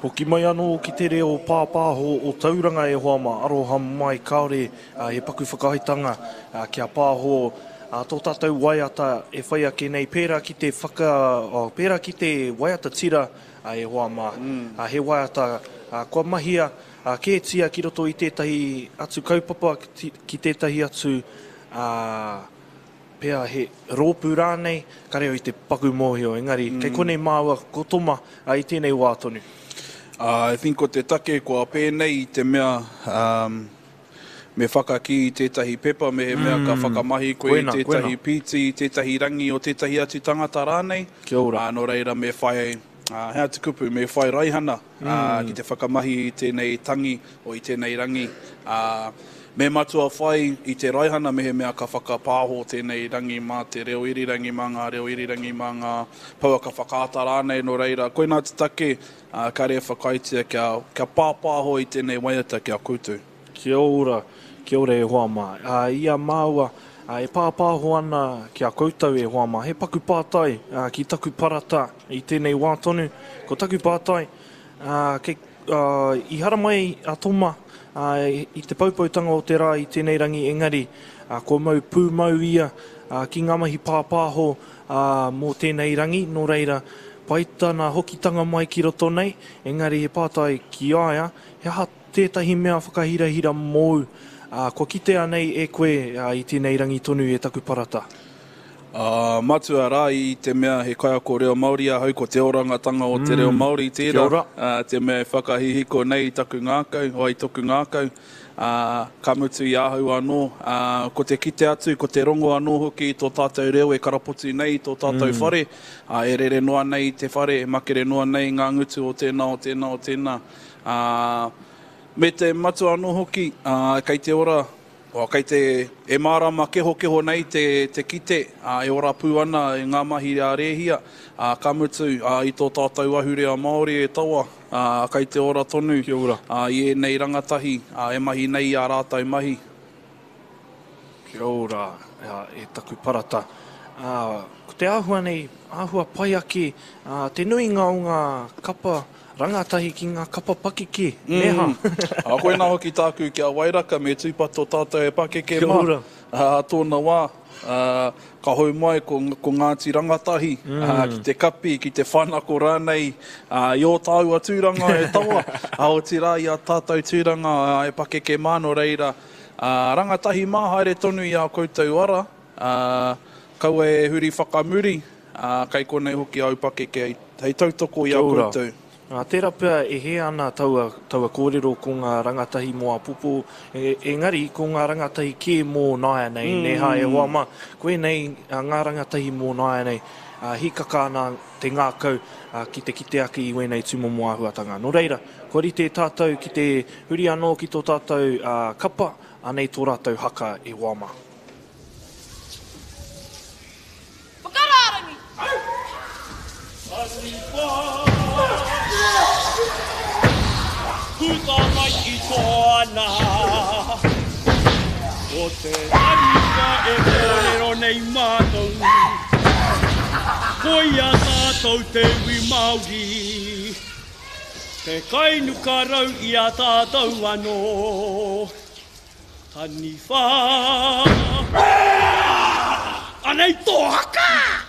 Hoki mai anō ki te reo pāpāho o Tauranga e hoa mā, aroha mai kāore he paku whakaaetanga kia pāho tō tātou waiata e whai ake nei pērā ki te whaka, pērā ki te waiata tira e hoa mā. He waiata kua mahia kētia ki roto i tētahi atu kaupapa, ki tētahi atu pea he rōpū rānei, kare au i te paku mōhio, engari kei konei māua ko Toma i tēnei wā tonu. I think ko te take kua pēnei i te mea me whakakī i tētahi pepa mehemea ka whakamahi koe i tētahi pīti, i tētahi rangi o tētahi atu tangata rānei. Kia ora. Nō reira me whai, he aha te kupu, me whai raihana. ā, ki te whakamahi i tēnei tangi o i tēnei rangi, ā, me matua whai i te raihana mehemea ka whakapāho tēnei rangi mā te reo irirangi, mā ngā reo irirangi, mā ngā pouaka whakaata rānei, nō reira, koinā te take, ā, kāre e whakaaetia kia, kia pāpāho i tēnei waiata ki a koutou. Kia ora, kia ora e hoa mā. Ā, i a māua, ā, e pāpāho ana ki a koutou e hoa mā, he paku pātai, ā, ki taku parata, I tēnei wā tonu, ko taku pātai, ā, kei, ā, i haramai a Toma, ā, i te poupoutanga o te rā i tēnei rangi, engari, ā, kua mau pūmau ia, ā, ki ngā mahi pāpāho, ā, mō tēnei rangi, nō reira, pai tana hokitanga mai ki roto nei, engari he pātai ki a ia, he aha tētahi mea whakahirahira mōu, ā, kua kitea nei e koe, ā, i tēnei rangi tonu e taku parata? Ā, matua rā i te mea he kaiako reo Māori ahau, ko te orangatanga o te reo Māori tērā, ā, te mea e whakahihiko nei i taku ngākau, o i toku ngākau, ā, ka mutu i ahau anō, ā, ko te kite atu, ko te rongo anō hoki i tō tātou reo e karapoti nei i tō tātou whare, ā, e rere noa nei i te whare, e makere noa nei i ngā ngutu o tēnā, o tēnā, o tēnā, ā, me te matua anō hoki, ā, kei te ora Kua kei te, e mārama kehokeho nei te, te kite, ā, e ora pū ana i ngā mahi a Rēhia, ā, ka mutu, ā, i tō tātou ahurea Māori e tawa, ā, kei te ora tonu, Kia ora. ā, i ēnei rangatahi, ā, e mahi nei i ā rātou mahi. Kia ora, ā, e taku parata. Ā, ko te āhua nei, āhua pai ake, ā, te nuinga o ngā kapa Rangatahi ki ngā kapa pakeke, nē hā? Ā, koinā hoki tāku ki a Wairaka, me tūpato tātou e pakeke mā. Kia ora. Ā tōna wā, ā, ka hou mai ko, ko Ngāti Rangatahi, ā, ki te kapi, ki te whanako rānei, ā, i ō tāua tūranga e tawa, ā, otirā i ā tātou tūranga, ā, e pakeke mā, nō reira, ā, rangatahi mā, haere tonu i ā koutou ara, ā, kaua e huri whakamuri, Ā, kei konei hoki āu pakeke hei tautoko i a koutou. Ā, tērā pea e hē ana taua, taua kōrero ko ngā rangatahi mō āpōpō, engari ko ngā rangatahi kē mō nāianei, nē hā, e hoa mā, koinei ngā rangatahi mō nāianei, ā, hīkaka ana te ngākau ki te kite ake i wēnei tūmomo āhuatanga. Nō reira, kua rite tātou ki te huri anō ki tō tātou kapa, anei tō rātou haka e hoa mā. Whakarārangi! Puta mai i tōna Ko te taniwha e kōrero nei mātou Koia tātou te iwi Māori Te kainukarau i a tātou anō Taniwha Anei tō haka!